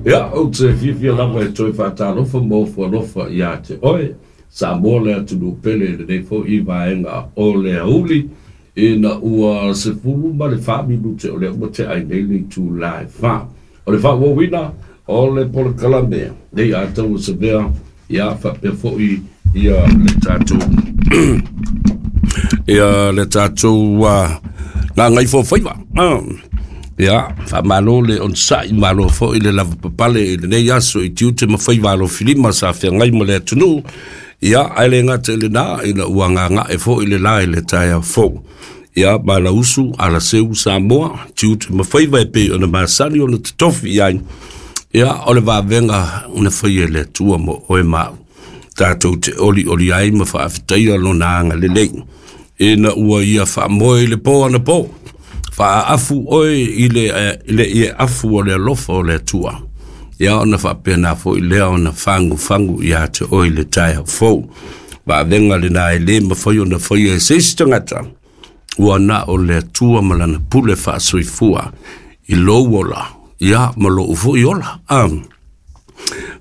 Ia, ou te fiafia lava e toe faatalofa ma ofo alofa iā te oe, Samoa le atunuu pele i lenei foi vaega o le aoauli, ina ua 14 minute o lea ua tea ai nei le itula e 4. O le faaauauina o le polokalame nei a tau savea, ia faapea foi ia le tatou ia le tatou gagaifofaiva. Ia, faamalo le onosai, malo foi le lavapapale i lenei aso i tiute ma faiva alofilima sa feagai ma le atunuu. Ia, ae le gata i lena, ina ua gagae foi le la i le taeao fou. Ia, malausu, alaseu Samoa, tiute ma faiva e pei ona masani ona totofi i ai. Ia, o le vavega na faia e le Atua mo oe ma au. Tatou te olioli ai ma faafetaia lona agalelei. Ina ua ia faamoe i le pō anapo, faaafu oe i le, i le ie afu o le alofa o le Atua. Ia ona faapena foi lea ona fagufagu ia te oe i le taeao fou. Vavega lena e le mafai ona faia e se isi tagata, ua na o le Atua ma lana pule faasoifua i lou ola, ia ma lou foi ola.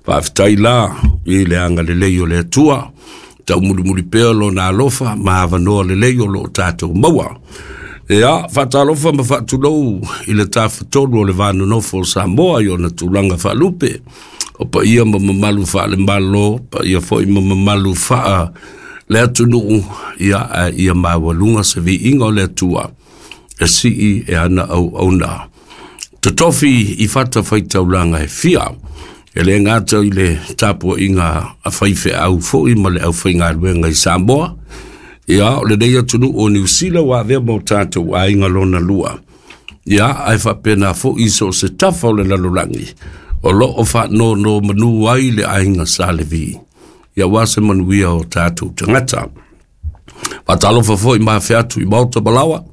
Faafetai la i le agalelei o le Atua, taumulimuli pea lona alofa ma avanoa lelei o loo tatou maua. Ia, faatalofa ma faatulou i le tafatolu o le va nonofo o Samoa i ona tulaga faalupe, o paia ma mamalu faale-Malo, paia foi ma mamalu faa le atunuu, ia, ae ia maualuga se viiga o le Atua e sii e ana auauna. Totofi i fatafaitaulaga e fia, e le gata i le tapuaiga a faifeau foi ma le aufaigaluega i Samoa, ia, o lenei atunuu o Niu Sila ua avea ma o tatou aiga lona lua. Ia, ae faapena foi i so o se tafa o le lalolagi, o lo o faanonomanu ai le aiga Sa Levi, ia aua se manuia o tatou tagata. Faatalofa foi ma afe atu i Maota Malawa,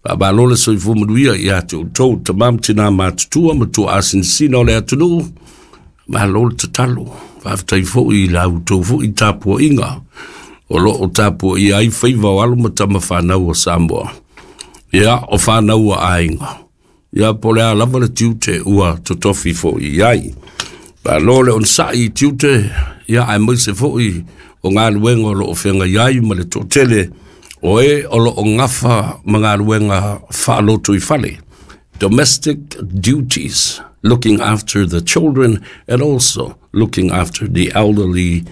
faamalo le soifua manuia ia te outou tama ma tina matutua ma tuaasinasina o le atunuu, malo le tatalo. Faafetai foi i la outou foi tapuaiga o lo o tapuaia ai faiva o alo ma tama fanau o Samoa. Ia, o fanau a aiga. Ia, po o le a lava le tiute ua totofi foi i ai. Malo le onosai i tiute, ia, aemaise foi o galuega o lo o feagai ai ma le toatele o e o lo o gafa ma galuega faalotoifale, domestic duties, looking after the children and also looking after the elderly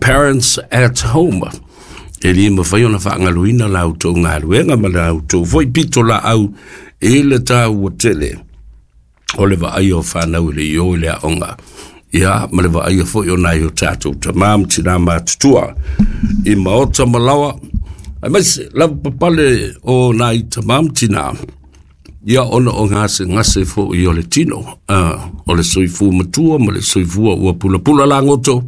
parents at home. E le mafai ona faagaloina la outou galuega ma la outou foi pito laau i le taua tele o le vaaia o fanau e le i o i le aoga. Ia, ma le vaaia foi o nai o tatou tamā ma tinā matutua i maota ma laoa, aemaise lava papale o nai tamā ma tinā, ia ona o gasegase foi o le tino, o le soifua matua ma le soifua ua pulapula lagoto,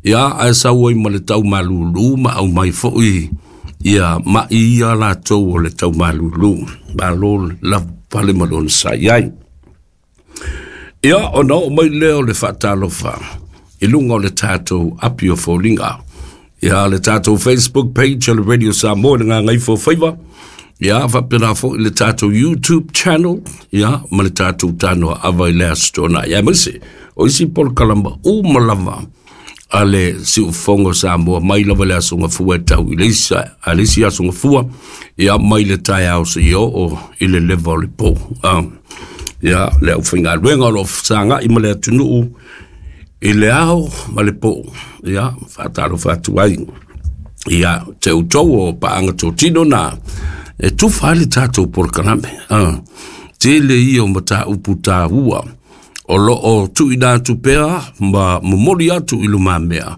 ia ae sau ai ma le tau malūlū ma aumai foi ia mai ia latou o le tau malūlū. Malo lava pale ma le onosai ai. Ia, ona oo mai lea o le faatalofa i luga o le tatou api o foliga. Ia, le tatou Facebook page o le Radio Samoa i le Gagaifofaiva. Ia, faapena foi le tatou YouTube channel, ia, ma le tatou tanoa ava i le Aso Toonai. Aemaise o isi polokalama uma lava a le Siufofoga o Samoa mai lava i le Aso Gafua e tau i le isi, a le isi Aso Gafua, ia, mai le taeao seia oo i le leva o le po. Ia, le aufaigaluega o lo o fesagai ma le atunuu i le ao ma le po, ia, faatalofa atu ai ia te outou o paaga totino na e tufa ai le tatou polokalame. Tele ia o mataupu taua o lo o tuuina atu pea ma momoli atu i lumamea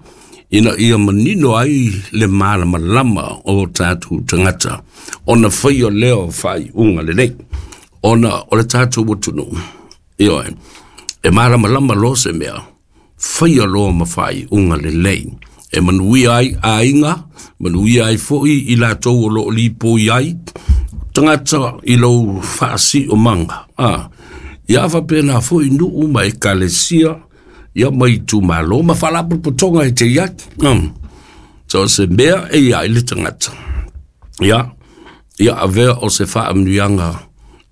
ina ia manino ai le malamalama o tatou tagata ona faia lea o faaiuga lelei, ona o le tatou atunuu, ioe, e malamalama loa se mea, faia loa ma faaiuga lelei e manuia ai aiga, manuia ai foi i latou o lo o lipoi ai tagata i lou faasiomaga. Ia faapena foi nuu ma ekalesia, ia ma itumalo ma faalapotopotoga e te i ai. So se mea e ia i le tagata, ia, ia avea o se faamanuiaga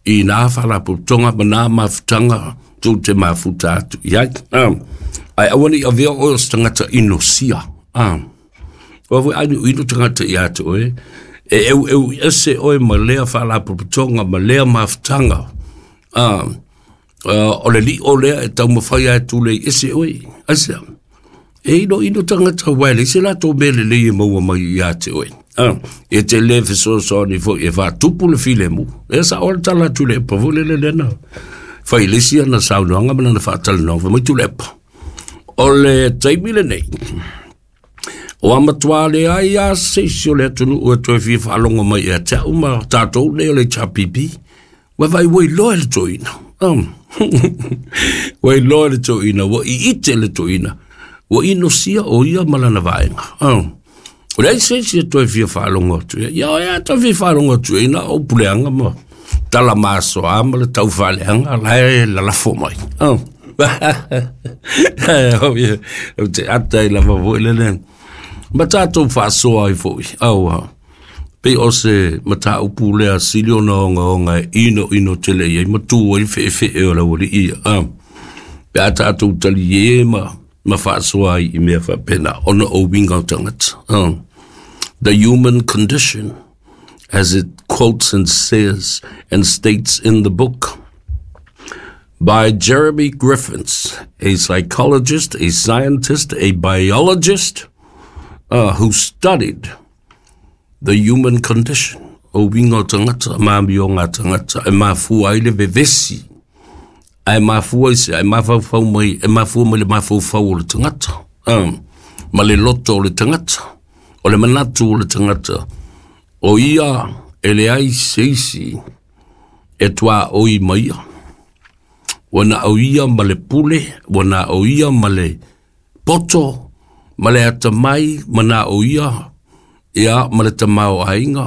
I nā faalapotopotoga ma nā mafutaga tou te mafuta atu i ai. Ae aua ne i avea oe o se tagata inosia. Aua foi a inoino tagata ia te oe, e eueu ese oe ma lea faalapotopotoga ma lea mafutaga. O le liʻo lea e taumafai lava e tulei ese oe. Aisea? E inoino tagata aua e leai se latou mea lelei e maua mai ia te oe. E te le fesoasoani foi e faatupu le filemu. E sao le tala a Tuilaepa foi lele lea na fai i le isi ana saunoaga ma lana faatalanoaga, fai mai Tuilaepa, o le taimi lenei, ua matua leai lava se isi o le atunuu e toe fia faalogo mai ia te au ma tatou nei o le HRPP. Ua vaai ua iloa e le toeaina. Ua iloa e le toeaina, ua iite le toeaina, ua inosia o ia ma lana vaega. O leai se isi e toe fia faalogo atu ia. Ia o ea toe fia faalogo atu ia, na o puleaga ma tala masoa ma le tau faaleaga la e lalafo mai. Ou te ata i lava foi lele. Ma tatou faasoa ai foi. Aua. Pei o se mataupu lea sili ona ogaoga e inoino tele i ai ma tu ai le feefee o le aualii ia. Pe a tatou talie ma faasoa ai i mea faapena ona o uiga o tagata. The human condition, as it quotes and says and states in the book by Jeremy Griffiths, a psychologist, a scientist, a biologist who studied the human condition, o uiga o tagata, ma amioga a tagata, e mafua ai le vevesi, ae mafua i se, ae mafaufau mai, e mafua mai le mafaufau o le tagata, ma le loto o le tagata, o le manatu o le tagata, o ia e leai se isi e tuaoi ma ia. Ua na o ia ma le pule, ua na o ia ma le poto, ma le atamai, ma na o ia, ia, ma le tamaoaiga.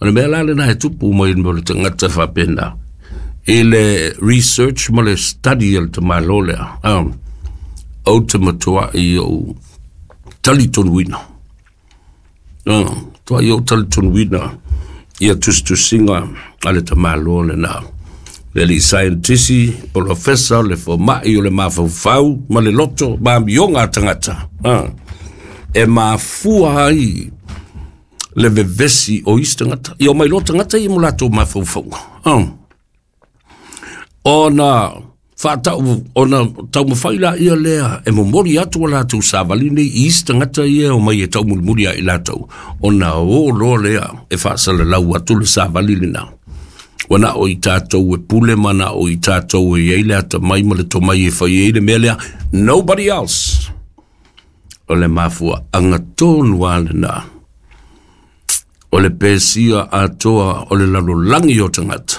O le mea la lena e tupu mai mo le tagata faapena i le research ma le study a le tamālo lea. Ou te matuai ou talitonuina. Matuai ou talitonuina ia tusitusiga a le tamālo lena. Le alii saienitisi, polofesa, le fomai o le mafaufau ma le loto ma amioga a tagata. E mafua ai le vevesi o isi tagata. Ia omai loa tagata ia ma latou mafaufauga. Ona faatau, ona taumafai laia lea e momoli atu a latou savali nei i isi tagata ia e omai e taumulimuli ia i latou, ona o loa lea e faasalalau atu le savali lena. Ua na o i tatou e pule ma na o i tatou e i ai le atamai ma le tomai e fai ai le mea lea. Nobody else. O le mafuaaga tonu lava lena o le pesia atoa o le lalolagi o tagata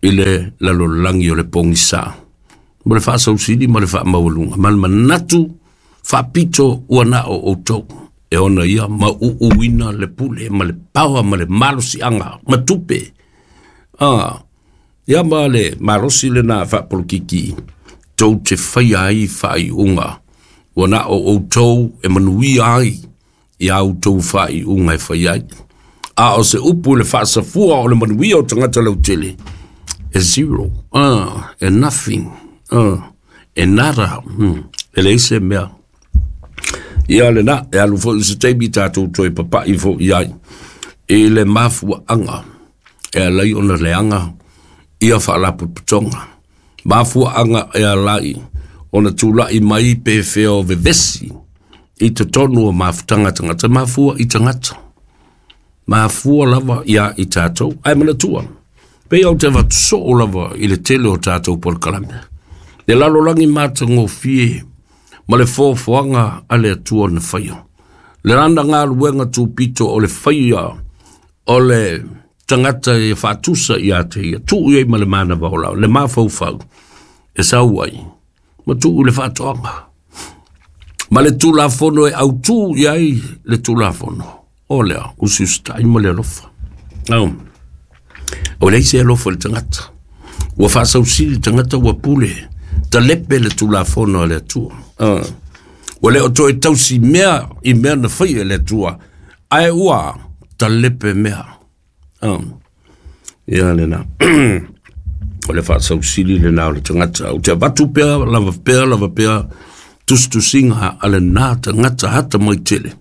i le lalolagi o le pogisa mo le faasausili ma le faamaualuga ma le manatu faapito ua na o outou e ona ia mauuuina le pule ma le paoa ma le malosiaga ma tupe. Ia ma le malosi lena faapolokiki tou te faia ai faaiuga ua na o outou e manuia ai i a outou faaiuga e fai ai. A o se upu i le faasafua o le manuia o tagata lautele, e zero, e nothing, e nada, e leai se mea. Ia lena, e alu foi se taimi tatou toe papai foi ai i le mafuaaga e ala ai ona leaga ia faalapotopotoga. Mafuaaga e ala ai ona tulai mai pe fea o vevesi i totonu o mafutaga tagata, mafua i tagata. Mafua lava ia i tatou. Ae manatua, pei ou te avatu soo lava i le tele o tatou polokalame. Le lalolagi matagofie ma le foafoaga a le Atua na faia. Le lana galuega tupito o le faia o le tagata e faatusa ia te ia, tuu i ai ma le manava o lao, le mafaufau e sau ai, ma tuu le faatoaga. Ma le Tulafono e autū i ai le Tulafono, o lea, usiusitai ma le alofa. O leai se alofa i le tagata. Ua faasausili le tagata ua pule, talepe le Tulafono a le Atua. Ua le o toe tausi mea i mea na faia e le Atua, ae ua talepe mea. Ia lena. O le faasausili lena o le tagata. Ou te avatu pea lava pea lava pea tusitusiga a lena tagata hata mai tele.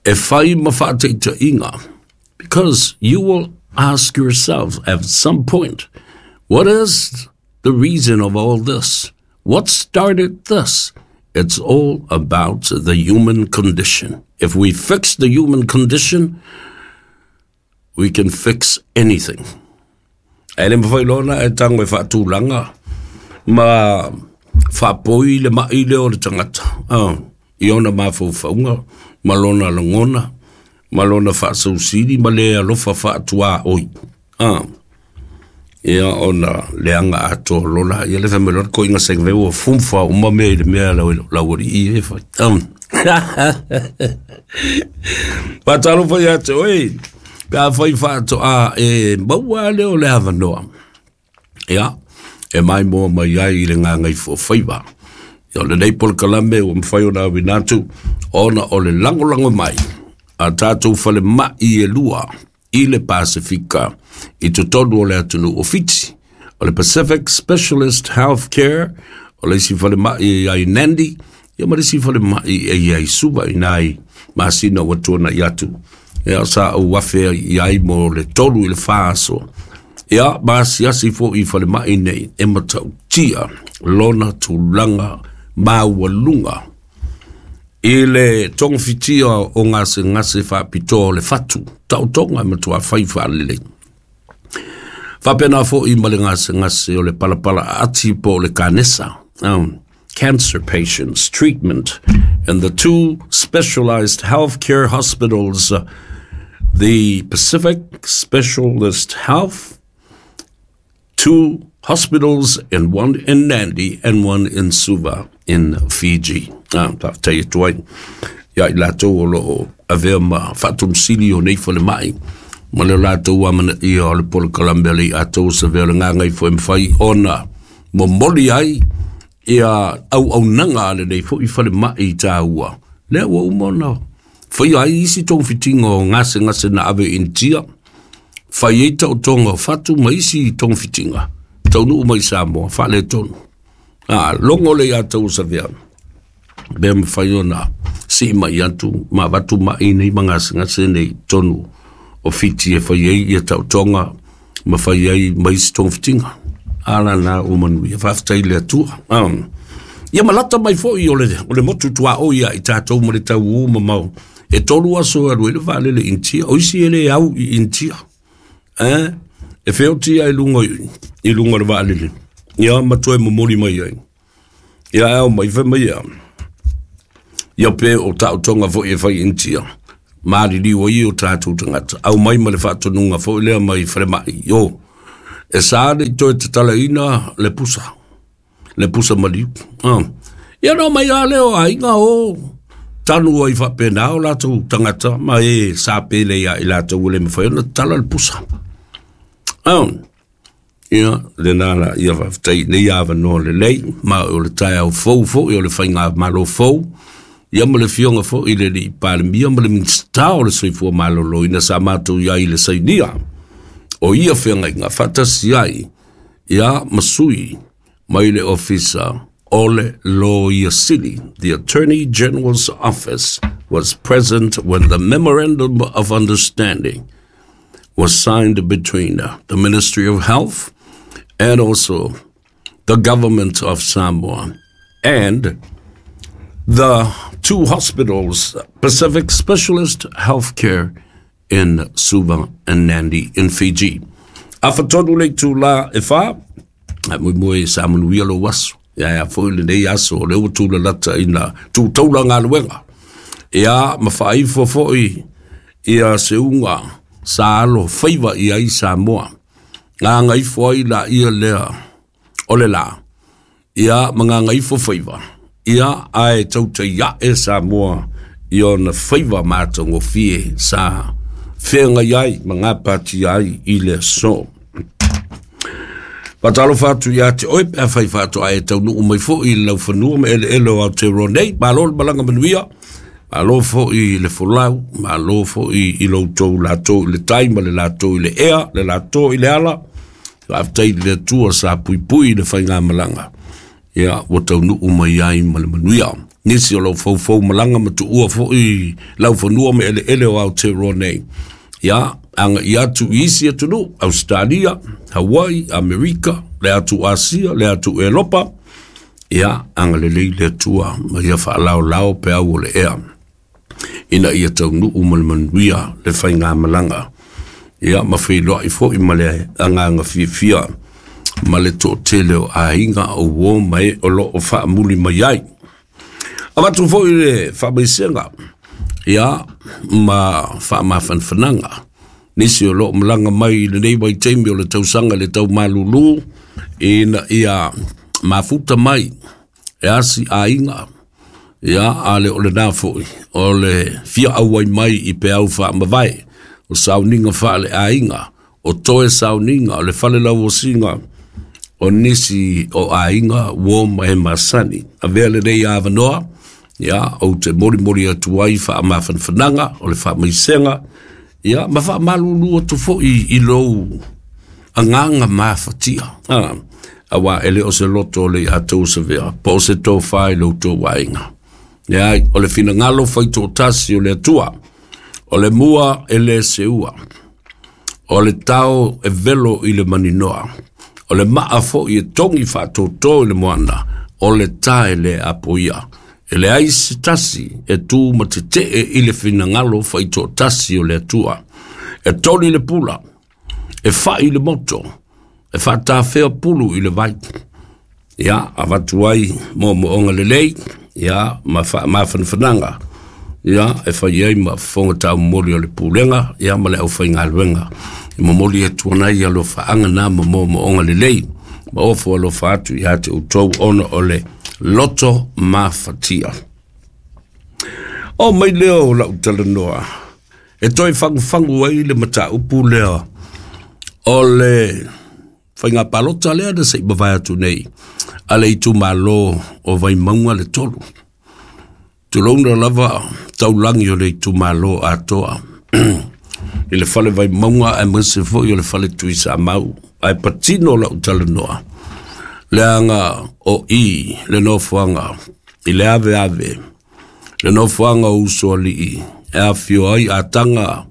E fai ma faataitaiga. Because you will ask yourself at some point, what is the reason of all this? What started this? It's all about the human condition. If we fix the human condition, we can fix anything. E le mawhai lona e tango e whaatūlanga ma whaapoi le mai le o le tangata. I ona mafaufauga ma lona lagona ma lona faasausili ma le alofa faatuā oi. Ia ona leaga atoa lola ia le fai mai loa le koiga sengave ua fumfa uma mea i le mea laualii e fai. Faatalofa ia te oe, pe afai faatoa e maua lea o le avanoa. Ia, e maimoa mai ai i le gagaifofaiva. Ia, o lenei polokalame ua mafai ona auina atu ona o le lagolago mai a tatou falemai e lua i le Pasefika i totonu o le atunuu o Fiti. O le Pacific Specialist Healthcare, o le isi falemai e i ai i Nandi, ia ma le isi falemai e i ai i Suva i nai masina ua tuanai atu. Ia, sa ou afe i ai mo le 3 i le 4 aso. Ia, ma asiasi foi i falemai nei e matautia lona tulaga maualuga i le togafitia o gasegase faapitoa o le fatu, taotoga e matua fai faalelei. Faapena foi ma le gasegase o le palapala aati po o le kanesa, cancer patients treatment in the two specialized healthcare hospitals, the Pacific Specialist Health, two hospitals, and one in Nandi and one in Suva in Fiji. Faafetai atu ai ia i latou o loo avea ma faatomusili o nei falemai ma le latou amanaia o le polokalame a le iatou sa vea o le gagaifo e mafai ona momoli ai ia auaunaga a lenei foi falemai i taua. Lea ua uma ona faia ai isi togafitiga o gasegase na ave i Initia, fai ai taotoga o fatu ma isi togafitiga taunuu mai Samoa faaletonu. Logo le iatou o Savea, pea mafai ona sii mai atu ma avatu mai nei ma gasegase nei i totonu o Fiti e fai ai ia taotoga ma fai ai ma isi togafitiga. Ala na ua manuia, faafetai i le Atua. Ia malata mai foi o le motu tuaoi ia i tatou ma le tauū mamao. E 3 aso e alu ai le vaalele i Initia, o isi e le au i Initia. E feotia i luga o le vaalele. Ia ma toe momoli mai ai. Ia e ao mai fai mai ia. Ia pe o taotoga foi e fai i Initia. Maliliu ai o tatou tagata. Au mai ma le faatonuga foi lea mai falemai. Io, e sa le i toe tatalaina le pusa. Le pusa maliu. Ia no mai a leo aiga o tanu ai faapena o latou tagata ma e sa pele ia i latou ua le mafai ona tatala le pusa. Ia, lena la ia faafetai nei avanoa lelei, ma o le taeao fou foi o le faigamalo fou, ia ma le afioga foi i le alii Palemia ma le Minisita o le Soifua Maloloina sa matou i ai i le sainia o ia feagaiga faatasi ai ia ma sui mai le ofisa o le Loia Sili. The Attorney General's Office was present when the Memorandum of Understanding was signed between the Ministry of Health and also the Government of Samoa and the two hospitals, Pacific Specialist Healthcare in Suva and Nandi in Fiji. Afatonu le itulā e 4, a moemoe e sa manuia lou aso. Ia ea foi lenei aso o lea ua tulalata ina tūtaula galuega. Ia ma faaifo foi ia seuga sa alo faiva i ai Samoa. Gagaifo ai la ia lea o le la. Ia ma gagaifo faiva. Ia ae tautai ae Samoa i ona faiva matagofie sa feagai ai ma gapatia ai i le aso. Faatalofa atu ia te oe pe afai faatoa e taunuu mai foi i le laufanua ma eleele o Aotearoa nei. Malo le malaga manuia. Malo foi i le folau, malo foi i lo outou latou i le tai ma le latou i le ea, le latou i le ala. Faafetai i le Atua sa puipui i le faigamalaga, ia ua taunuu mai ai ma le manuia. Nisi o lo o foufou malaga ma tuua foi laufanua ma eleele o Aotearoa nei, ia agai atu i isi atunuu, Ausetalia, Hawaii, Amerika, le atu Asia, le atu Elopa, ia agalelei le Atua ma ia faalaolao peau o le ea, ina ia taunuu ma le manuia le faigamalaga, ia ma feiloai foi ma le agaga fiafia ma le toatele o aiga o uo ma e o lo o faamuli mai ai. Avatu foi le faamaisega, ia, ma faamafanafanaga nisi o lo o malaga mai i lenei vaitaimi o le tausaga i le tau malulu, ina ia mafuta mai e asi aiga, ia, a le o lena foi o le fia auai mai i peau faamavae, o sauniga faaleaiga, o toe sauniga, o le fale lauosiga o nisi o aiga uo ma e masani. Avea lenei avanoa, ia, ou te molimoli atu ai faamafanafanaga, o le faamaisega, ia, ma faamalulu atu foi i lou agaga mafatia. Aua e le o se loto o le ia tou savea, po o se tofa i lo tou aiga. Leai, o le finagalo faitoatasi o le Atua, o le mua e le seua, o le tao e velo i le maninoa, o le maa foi e togi faatoto i le moana, o le ta e le apoia. E leai se tasi e tu ma tetee i le finagalo faitoatasi o le Atua. E toli le pula, e fai le moto, e faatafea pulu i le vai. Ia, avatu ai moomooga lelei, ia, ma faamafanafanaga, ia, e fai ai ma fofoga taumoli o le pulega, ia, ma le aufaigaluega. E momoli atu ana ai alofaaga na ma moomooga lelei, ma ofo alofa atu ia te outou ona o le loto mafatia. O mai lea o lau talanoa, e toe fagufagu ai le mataupu lea o le faiga palota lea na se i mavae atu nei a le itumalo o Vaimauga le 3. Tulouna lava taulagi o le itumalo atoa i le fale Vaimauga aemaise foi o le fale Tuisamau. Ae patino lau talanoa, leaga o i le nofoaga i le ave ave, le nofoaga o Usoalii e afio ai Ataga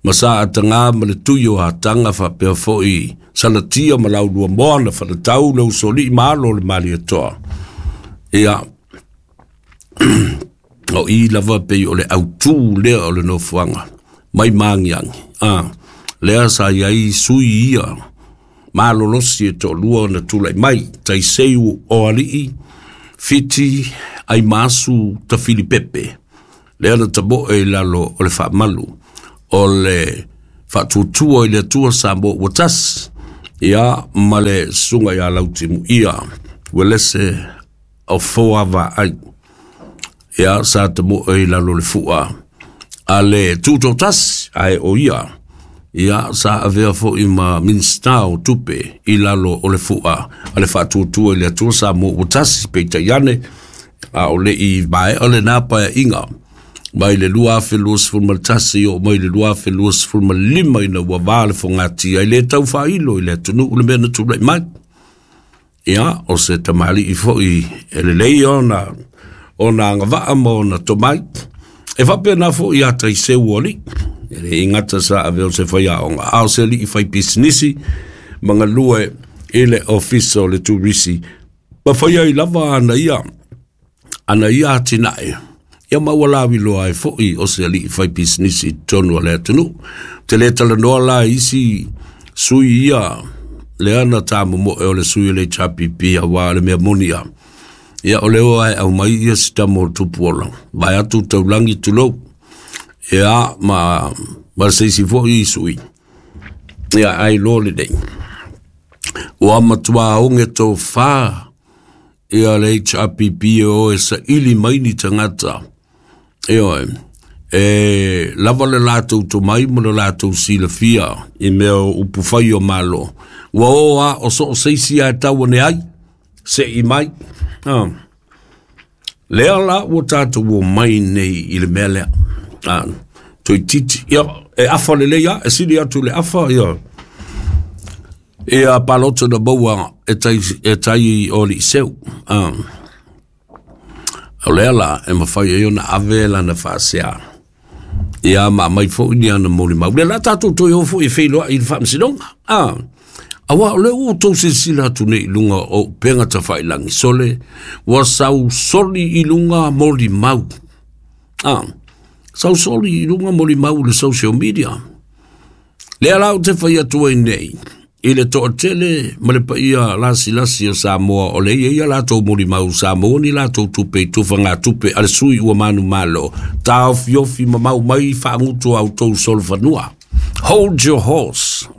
ma sa Ataga ma le tui o Ataga faapea foi Salatia ma Laulua Moa na falatau le Usoalii ma alo o le Malietoa. Ia, o i lava pei o le autū lea o le nofoaga mai maagiagi. Lea sa iai sui ia malolosi e toalua na tulai mai, Taiseu o Alii, Fiti Aimasu Tafilipepe, lea na tamoe i lalo o le faamalu o le faatuatua i le Atua Samoa ua tasi, ia, ma le susuga ia Lautimuia Uelese o Foavaai, ia, sa tamoe i lalo o le fua a le Tutoatasi, ae o ia, ia, sa avea foi ma Minista o Tupe i lalo o le fua a le faatuatua i le Atua Samoa ua tasi. Peitai ane, a o le i maea lena paeaiga mai le 2021 o mai le 2025, ina ua va le fogatia i le tau faailo i le atunuu le mea na tulai mai. Ia, o se tamalii foi e lelei ona agavaa ma ona tomai. E faapena foi ia Taiseu o Alii, e le i gata sa avea o se faiaoga, a o se alii fai pisinisi ma galue i le ofisa o le turisi, ma fai ai lava ana ia atinae. Ia ma ua laviloa ai foi o se alii fai pisinisi i totonu o le atunuu. Te le talanoa la isi sui ia, lea na tāmomoe o le sui o le HRPP, aua o le mea moni ia. Ia, o leo ai au mai ia si tamo o Tupuola, vai atu taulangi tulou. Ia, ma seisi foi i sui. Ia, ai loa lenei. Ua matua onge tō whā ia le HRPP e o e saili mai ni tangata. E oe, e lava le latou tomai ma le latou silafia i mea o upu fai o malo. Ua o a o so o seisi a e tau ane ai, se i mai. Lea la ua tatou omai nei i le mea lea. Toeitiiti, ia, e afa lelei lava, e sili atu i le afa ia ia palota na maua e tai, e tai o alii seu. O lea la e mafai ai ona ave lana faasea. Ia ma aumai foi ni ana molimau. Lea la tatou toe o foi e feiloai i le faamasinoga. Aua o lea ua outou silasila atu nei i luga o upega tafailagi, sole, ua sausoli i luga molimau. Sausoli i luga molimau i le social media. Lea la ou te fai atu ai nei, i le toatele ma le paia lasilasi o Samoa o lea e i ai a latou molimau sa maua ni latou tupe i tufagatupe a le sui ua manumalo, taofiofi mamao mai faagutu a outou solofanua. Hold your horse.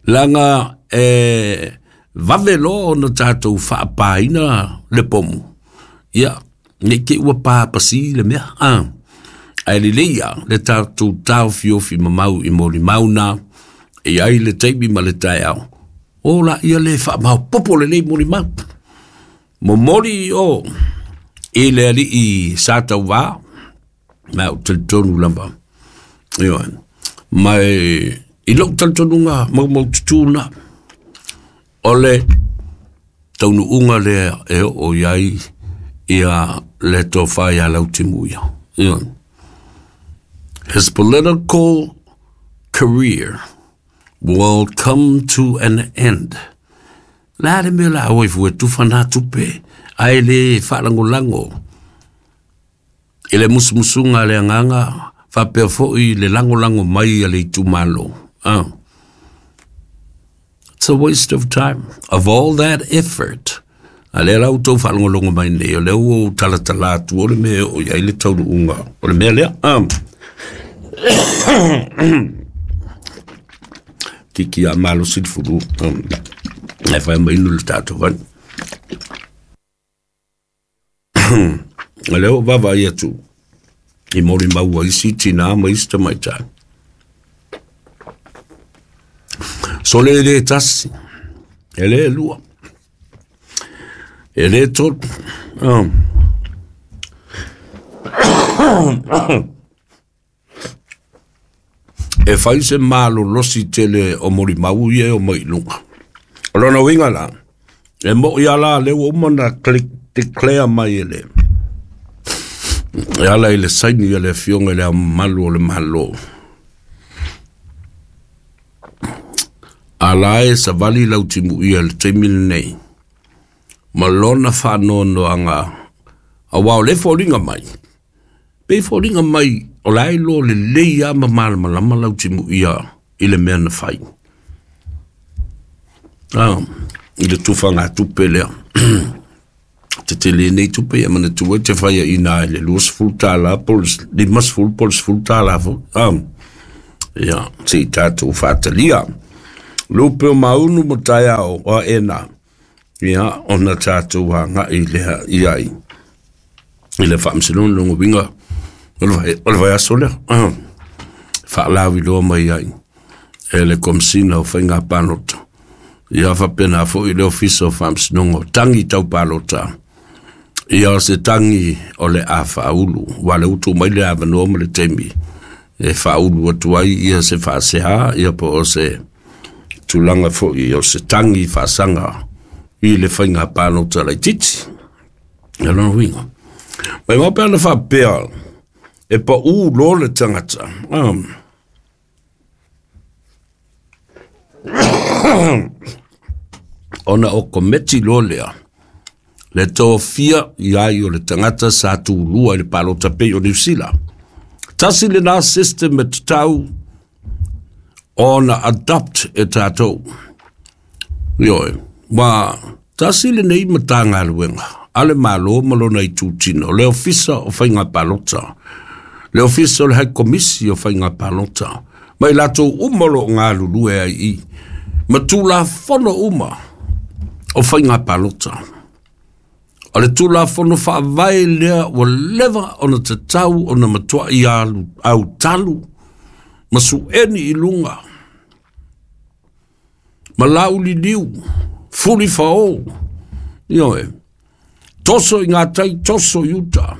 Leaga e vave loa ona tatou faapaina le pomu, ia, ne i te i ua pa pasi le mea. Ae lelei lava le tatou taofiofi mamau i molimau na, e i ai le taimi ma le taeao, o laia le faamaopoopo lelei molimau. Momoli i o i le alii sa tauvā, ma ou te talitonu lava, ioe, ma i lou talitonuga maumaututu lena, o le taunuuga lea e oo i ai ia le tofa ia Lautimuia. Ioe. His political career will come to an end. O le a le mea o le a o ai fua e tufa nā tupe ae le faalagolago i le musumusuga a le agaga faapea foi le lagolago mai a le itumalo. It's a waste of time of all that effort. A lea la ua outou faalogologo mai nei, o lea ua ou talatala atu o le mea e oo i ai le taunuuga o le mea lea. Tiki a malosi le fulu. Ae fai mai inu le tatou vai. O lea ua vaavaai atu i molimau a isi tinā ma isi tamaitai. Sole e le tasi, e le lua, e le tolu. E fai se malolosi tele o molimau ia e omai i luga. O lona uiga la, e moi lava la lea ua uma ona declare mai e le e ala i le saini a le Afioga i le Ao Mamalu o le Malo. A la e savali Lautimuia i le taimi lenei ma lona faanoanoaga, aua o lea e foliga mai, Pei foliga mai o la e iloa lelei lava ma malamalama Lautimuia i le mea na fai. I le tufagatupe lea. Tetele nei tupe ia manatua e te faiaina ai le $20 po o le $50 po o le $10 foi. Ia, se i tatou faatalia. Lupe o Maunu ma taeao o aena. Ia, ona tatou agai lea i ai i le faamasinoga lona uiga o le vaiaso lea. Faalauiloa mai ai e le Komesina o Faiga Palota. Ia faapena foi le Ofisa o Faamasinoga o tagi tau palota. Ia o se tagi o le a faaulu, aua o lea ua tuu mai le avanoa ma le taimi e faaulu atu ai ia se faasea ia po o se tulaga foi o se tagi faasaga i le faiga palota laitiiti. Ia lona uiga. Maimau pe ana faapea e pau loa le tagata. Ona o kometi loa lea, le tofia i ai o le tagata sa tulua i le palota pei o Niu Sila. Tasi lena system e tatau ona adopt e tatou. Ioe, ua tasi lenei Matagaluega a le Malo ma lona itutino, le Ofisa o Faiga Palota, le Ofisa o le High Komisi o Faiga Palota, ma i latou uma o lo o galulue ai i i, ma Tulafono uma o Faiga Palota. O le Tulafono Faavae lea ua leva ona tatau ona matuai autalu ma sueni i luga ma lauliliu, fulifao, ioe. Toso i gatai, toso i uta,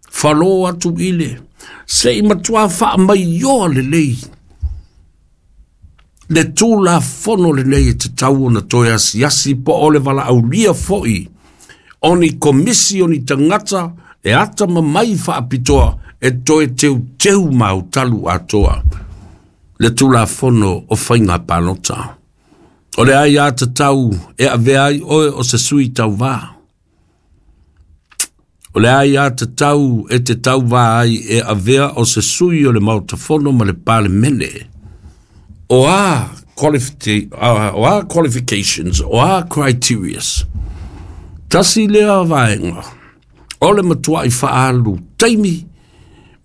falo atu i le, se i matua faamaioa lelei le Tulafono lenei e tatau ona toe asiasi po o le valaaulia foi o ni komisi o ni tagata e atamamai faapitoa e toe teuteu mautalu atoa le Tulafono o Faiga Palota. O le aiatatau e avea ai oe o se sui tauvā. O le aiatatau e te tauvā ai e avea o se sui o le Maota Fono ma le Palemene. O a qualifications, o a criterias. Tasi lea vaega, o le matuai faaalu taimi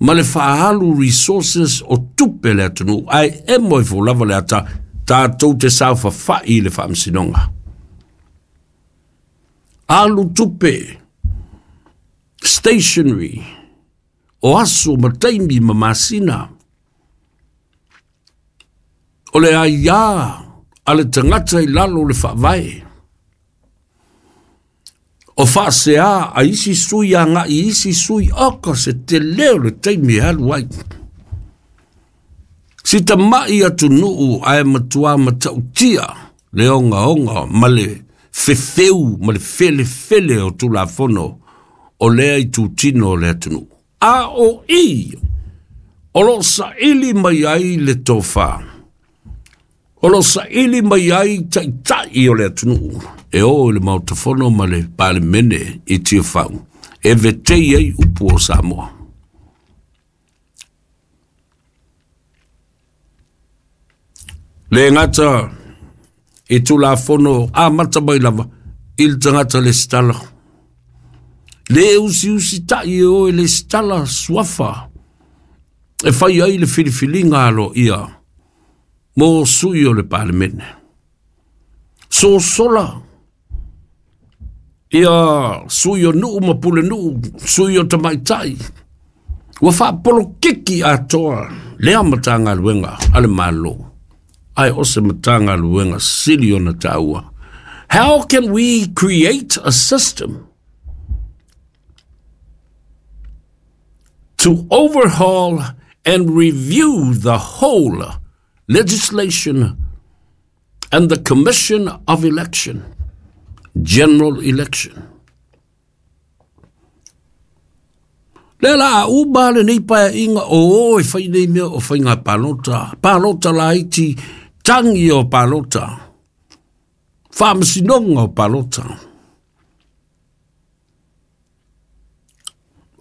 ma le faaalu resources o tupe le atunuu, ae emo ifo lava le ata tatou te saofafai i le faamasinoga. Alu tupe, stationery, o aso ma taimi ma masina, o le aiā a le tagata i lalo o le faavae, o faasea a isi sui agai i isi sui, oka se tele o le taimi e alu ai. Si tamai atunuu ae matua matautia le ogaoga ma le fefeu ma le felefele o Tulafono o lea itutino o le atunuu. A o i, o lo o saili mai ai le tofa, o lo o saili mai ai taitai o le atunuu, e o i le Maota Fono ma le Palemene i Tiafau, e vetei ai upu o Samoa. Le gata i Tulafono amata mai lava i le tagata lesitala. Le usiusitai e o e lesitala suafa e fai ai le filifiliga aloaia mo sui o le Palemene. Sosola ia sui o nuu ma pule nuu, sui o tamaitai, ua faapolokiki atoa lea Matagaluega a le Malo, ae o se Matagaluega sili ona taua. How can we create a system to overhaul and review the whole legislation and the Commission of Election, General Election? Lea la a uma lenei paeaiga o o e fai nei mea o faiga palota, palota laiti, tagi o palota, faamasinoga o palota.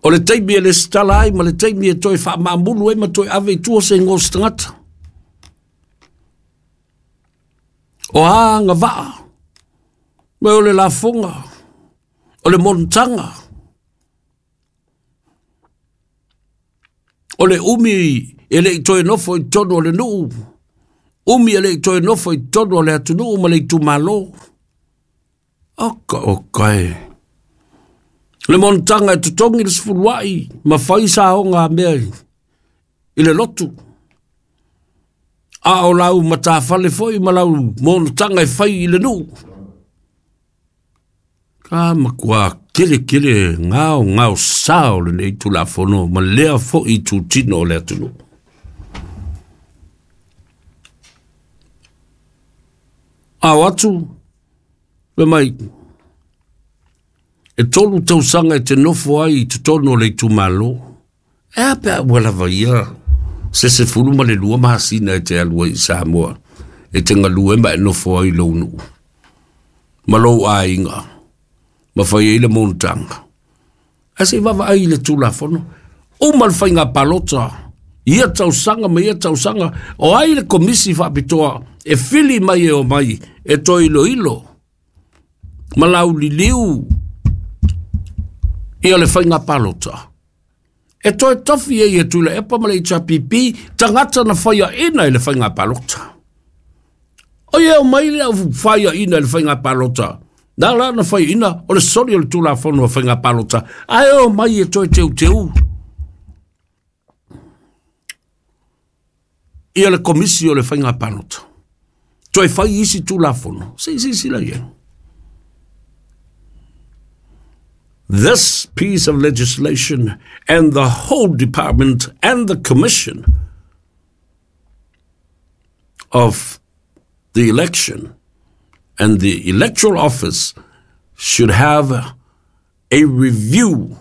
O le taimi e lesitala ai ma le taimi e toe faamaamulu ai ma toe ave i tua se igoa o se tagata. O a agavaa, ma o le lafoga, o le monotaga, o le umi e le i toe nofo i totonu o le nuu, umi e le i toe nofo i totonu o le atunuu ma le itumalo. Oka oka e. Le monotaga e totogi le sefuluai ma fai saoga a mea i le lotu. A o lau matafale foi ma lau monotaga e fai i le nuu. Ka matua kele kele ngao ngao sa o lenei Tulafono ma lea foi itutino o le atunuu. A o atu, fai mai, e 3 tausaga e te nofo ai i totonu o le itumalo. E a pe a ua lava ia se 12 masina e te alu ai i Samoa, e te galue ma e nofo ai i lou nuu, ma lou aiga, ma fai ai le monotaga. Ae se i vaavaai i le Tulafono, uma le faiga palota, ia tausaga ma ia tausaga, o ai le komisi faapitoa e fili mai e o mai e toe iloilo ma lauliliu ia le faiga palota. E toe tofi ai e Tuilaepa ma le HRPP tagata na faiaina i le faiga palota. O ia o mai le au faiaina i le faiga palota. Nā la na faiaina o le soli o le Tulafono o faiga palota. Ae o mai e toe teuteu ia le komisi o le faiga palota. Toe fai isi Tulafono. Se i silasila i ai. This piece of legislation and the whole department and the commission of the election and the electoral office should have a review,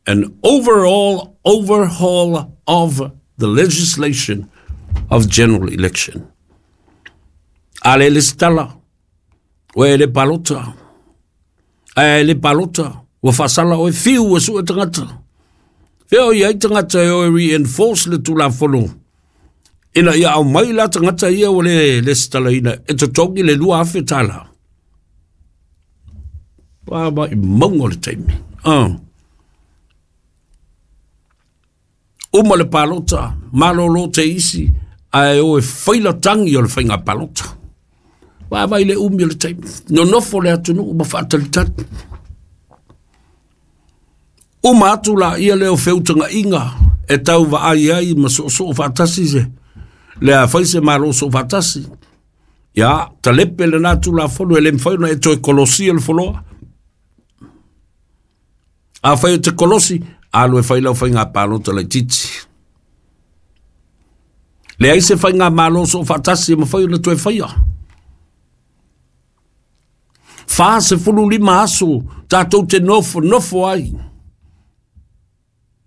an overall overhaul of the legislation of general election. A le lesitala, ua e le palota, a e le palota, ua faasala oe, fiu ua sue tagata. Fea o i ai tagata e o e reinforce le Tulafono ina ia aumai la tagata ia ua le lesitalaina e totogi le $2,000. Ua maumauga o le taimi. Uma le palota, malolo te isi, ae o e faila tagi o le faiga palota. Vaavaai le umi o le taimi. Nonofo le atunuu ma faatalitali. Uma atu la ia lea o feutagaiga e tau vaai ai ma soosoo faatasi se le a fai se malo soofaatasi. Ia, talepe lena Tulafono e le mafai ona e toe kolosia le foloa. A fai e te kolosi, alu e fai lau faiga palota laitiiti. Leai se faiga malo soofaatasi e mafai ona toe faia. 45 aso tatou te nofonofo ai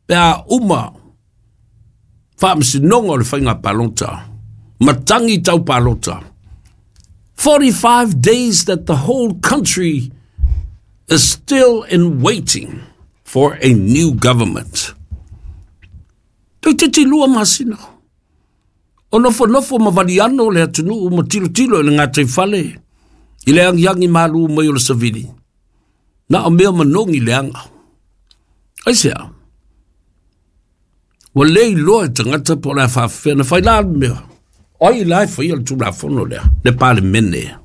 pe a uma faamasinoga o le faiga palota ma tagi tau palota. 45 days that the whole country is still in waiting for a new government. Toeitiiti 2 masina. O nofonofo ma valiano le atunuu ma tilotilo i le gataifale i le agiagi malu mai o le savili. Na o mea manogi leaga. Aisea? Ua le iloa e tagata po o le a faafefea ona fai la le mea. O ai la e faia le Tulafono lea? Le Palemene.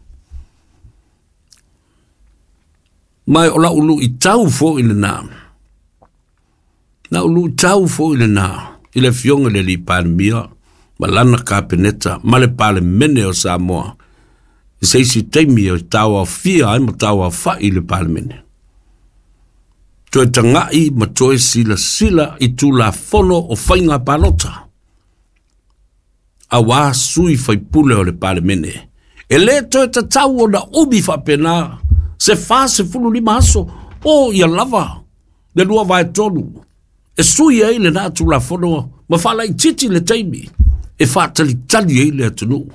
Ma o lau luitau foi lena. Lau luitau foi lena i le afioga i le alii Palemia ma lana Kapeneta ma le Palemene o Samoa i se isi taimi e tauaofia ai ma tauaofai le Palemene. Toe tagai ma toe silasila i Tulafono o faiga palota. Auā sui faipule o le Palemene. E le toe tatau ona umi faapena se 45 aso o ia lava le 2/3 e sui ai lena Tulafono ma faalaitiiti le taimi e faatalitali ai le atunuu.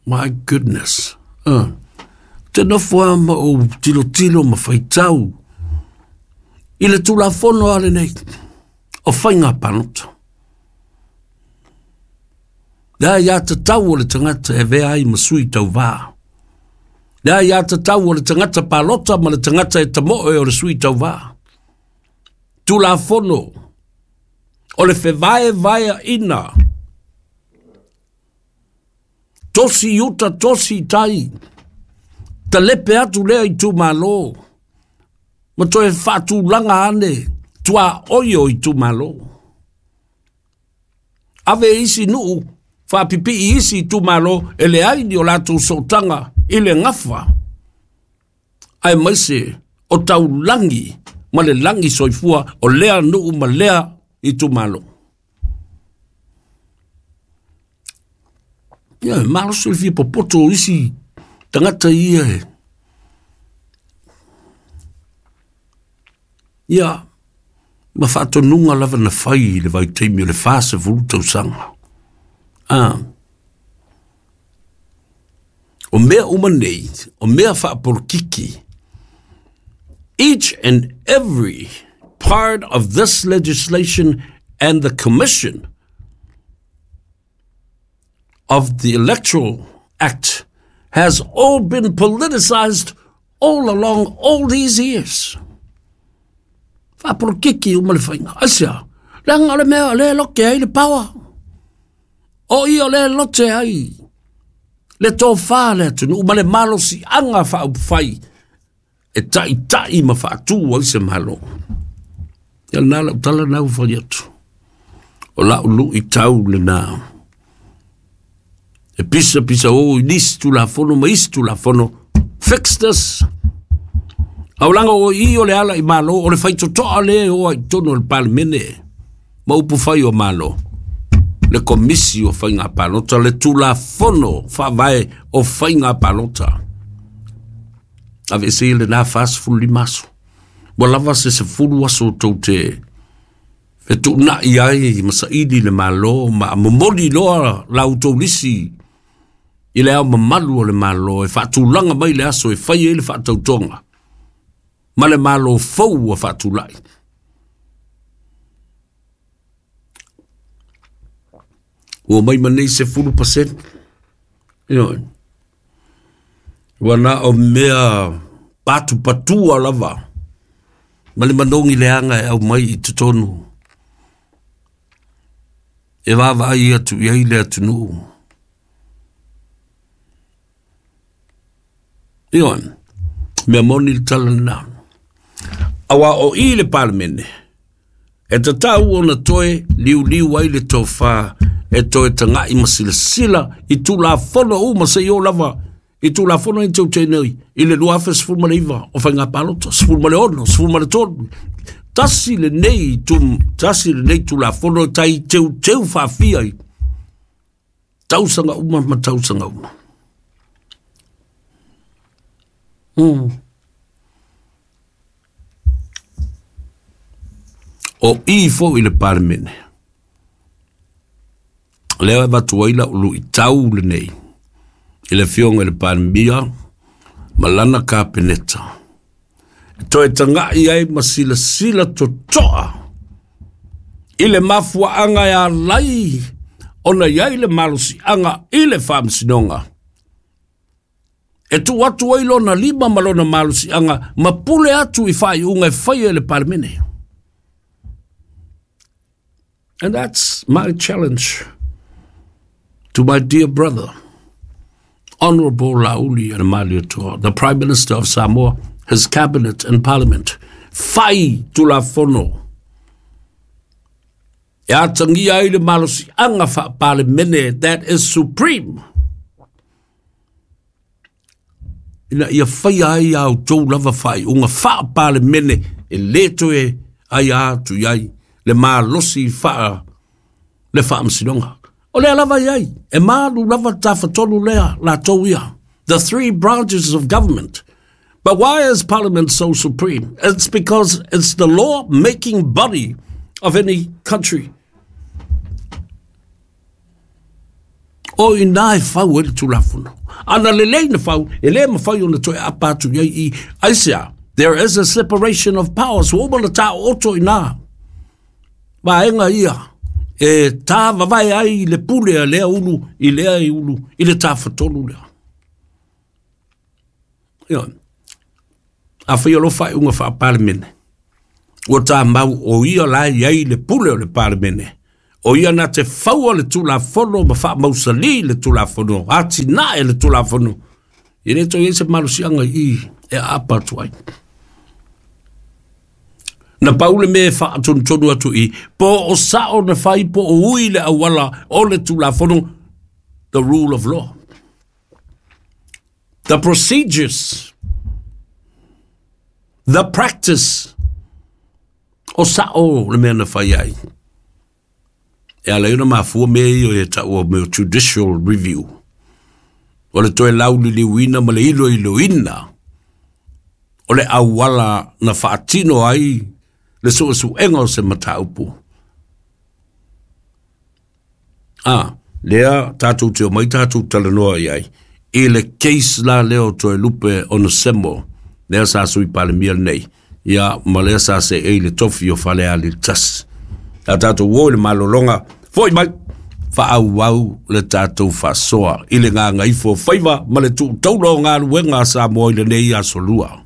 My goodness. Te nofo lava ma ou tilotilo ma faitau i le Tulafono a lenei o faiga palota. Le aiatatau o le tagata e avea ai ma sui tauvā. Le aiatatau o le tagata palota ma le tagata e tamoe o le sui tauvā. Tulafono o le fevaevaeaina tosi i uta, tosi i tai, talepe atu lea itumalo, ma toe faatulaga ane tuaoi o itumalo. Ave isi nuu, faapipii isi itumalo, e leai ni o latou sootaga i le gafa, aemaise o taulagi ma le lagi soifua o lea nuu ma lea itumalo. Ia, e malosi le fia popoto o isi tagata ia e. Ia, ma faatonuga lava na fai i le vaitaimi o le 40 tausaga. O mea uma nei, o mea faapolokiki, each and every part of this legislation and the commission of the Electoral Act has all been politicized all along all these years. Faapolokiki uma le faiga. Aisea? Leaga o le mea o lea e lote ai le power. O ia o lea e lote ai le tofa le atunuu ma le malosiaga faaupufai e taitai ma faatu ai se malo. Ia lena lau tala lena ua fai atu. O lau luitau lena. E pisapisa o i nisi Tulafono ma isi Tulafono Fix this. Aulaga o i o le ala i malo, o le faitotoa le o ai tonu o le palemene, ma upu fai o malo. Le komisi o faiga palota, le tulafono faavae o faiga palota. Ave se le na 45 aso. Ua lava se 10 aso tou te fetuunai ai ma saili le malo ma momoli loa la outou lisi i le ao mamalu o le malo e faatulaga mai le aso e fai ai le faatautoga ma le malo fou ua faatulai. Ua mai ma nei 10%. Ioe. Ua na o mea patupatua lava ma le manogi leaga e aumai i totonu e vaavaai atu i ai le atunuu. Ioe, mea moni le tala lena. Aua o i le palemene, e tatau ona toe liuliu ai le tofa e toe tagai ma silasila i tulafono uma seia oo lava i tulafono e teuteu i le 2019 o faiga palota, 16, 13. Tasi lenei tasi lenei tulafono tai teuteu faafia i tausaga uma ma tausaga uma. O i foi le palemene, lea e avatu ai lau luitau lenei i le afioga i le Palemia ma lana kapeneta, e toe tagai ai ma silasila totoa i le mafuaaga e alai ona i ai le malosiaga i le faamasinoga, e tuu atu ai lona lima ma lona malosiaga ma pule atu i faaiuga e faia e le palemene. And that's my challenge to my dear brother, Honorable Laauli Malietoa, the Prime Minister of Samoa, his cabinet and parliament. Fai tulafono e atagia ai le malosiaga faapalemene that is supreme, ina ia faia ai a outou lava faaiuga faapalemene e le toe aia atu i ai le malosi faa le faamasinoga. O lea lava i ai, e malu lava tafatolu lea latou ia, the three branches of government. But why is Parliament so supreme? It's because it's the law-making body of any country. O ina e fau ai le tulafono. Ana lelei na fau, e le mafai ona toe apa atu i ai i aisea. There is a separation of powers. Ua uma na taooto ina vaega ia e tāvavae ai le pule a lea ulu i lea i ulu i le tafatolu lea. Ia, a fai alofa faaiuga faapalemene, ua tāmau o ia la i ai le pule o le palemene. O ia na te faua le tulafono ma faamausali le tulafono, atinae le tulafono. E le toe i ai se malosiaga i e aapa atu ai. Na pau le mea e faatonutonu atu i, po o sao na fai po o ui le auala o le tulafono, the rule of law. The procedures, the practice, o sao le mea na fai ai. E ala i ona mafua mea ia e taua o mea judicial review. O le toe lauliliuina ma le iloiloina o le auala na faatino ai le suesuega o se mataupu. A, lea tatou te omai tatou talanoa i ai i le case la lea o Toelupe Onesemo, lea sa sui palemia lenei, ia ma lea sa seei le tofi o Falealili 1. A tatou o i le malologa, foi mai, faaauau le tatou faasoa i le gagaifo faiva ma le tuutaula o galuega a Samoa i lenei aso lua.